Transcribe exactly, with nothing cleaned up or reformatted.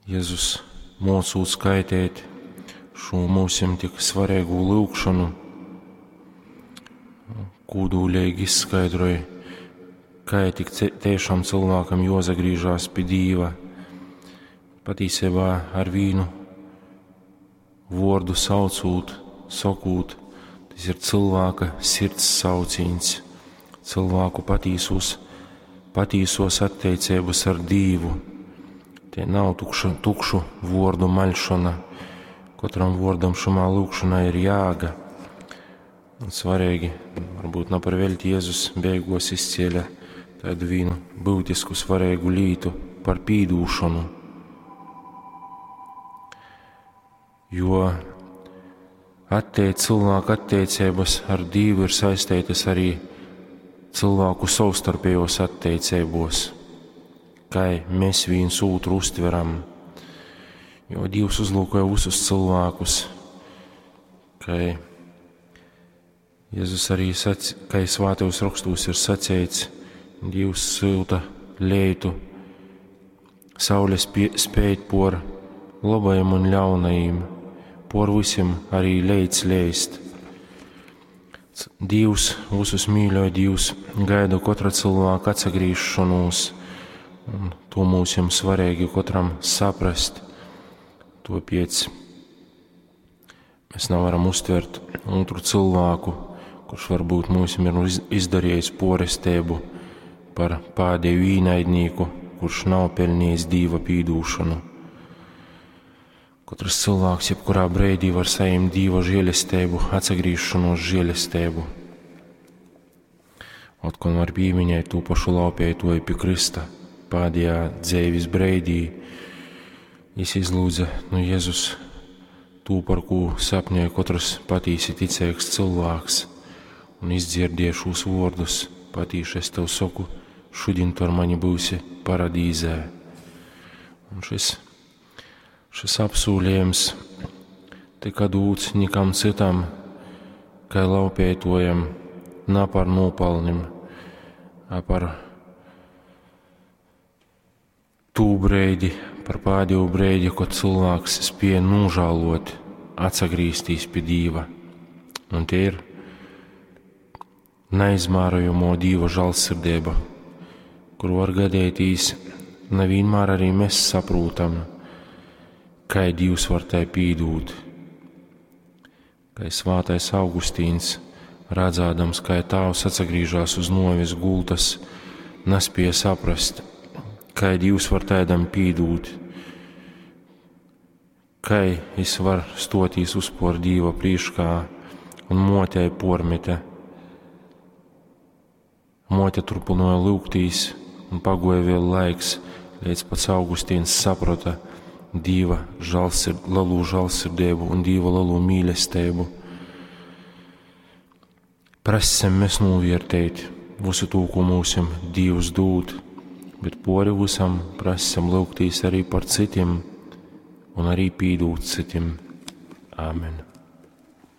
Jezus mocūt skaiteit šo mūsim tik svarīgu lyugšonu, kūdūlīgi izskaidroj, kā tik tiešām cilvēkam jozagrīžās pie Dīva. Patīsībā ar vīnu vordu saucūt, sokūt, tas ir cilvēka sirds saucīns, cilvēku patīsos, patīsos attiecības ar Dīvu. Te nav tukša, tukšu vordu maļšana. Katram vordam šumā lūkšanā ir jāga. Un svarīgi, varbūt nav par velti Jēzus beigos izcēla tādu vīnu būtisku svarīgu lītu par pīdūšanu. Jo atteic, cilvēka attiecības ar Dievu ir saistītas arī cilvēku savstarpējos attiecībos, kā mēs viens otru uztveram. Jo Dievs uzlūkoja visus cilvēkus, kā Jēzus arī sac, kā svētajos rakstos ir sacīts, Dievs silta leitu, saules pie, spēt por labajiem un ļaunajiem, por visiem arī leits leist. Dievs visus mīļoja, Dievs gaida katra cilvēka atsagrīšanos, un to mūsim svarīgi katram saprast. Topiec mēs nevaram uztvert otru cilvēku, kurš varbūt mūsim ir izdarījis porestību par pēdējo īnaidnieku, kurš nav pelnījis Dieva pīdūšanu. Katrs cilvēks jebkurā brīdī var saņemt Dieva žēlestību, atsagriešanos žēlestību. Otkon var pieminēt to pašu laupētoju pie Krista pēdējā dzīves brīdī. Jis izlūdza no Jēzus to, par ko sapņoja katrs patīsi ticīgs cilvēks, un izdzirdēja šos vārdus: patīši es tev saku, šodien tu ar mani būsi paradīzē. Un šis, šis apsūlījums tika dūts nikam citam, kā laupētojam, nav par nopelnim, a par tū breidi, par pēdējo breidi, kad cilvēks spēja nožēlot, atsagrīztīs pie Dieva. Un tie ir neizmērojamo Dieva žēlsirdība, kur var gadīties, nevienmēr arī mēs saprotam, kā Dievs var tai pīdūt. Kā svētais Augustīns, redzādams, kā tēvs atsagrīžās uz novis gultas, nespēja saprast, kā Dievs var tādam pīdūt, kā es var stotīs uzpor Dieva priekšā un motei pormete. Mote turpināja lūgtīs, un pagoja vēl laiks, līdz pats Augustīns saprata Dieva žēlsird, lielu žēlsirdību un Dieva lielu mīlestību. Prasam mēs novērtēt visu to, ko mūsim Dievs dod, bet pori visam prasam lūgtīs arī par citiem un arī pīdūt citiem. Āmen.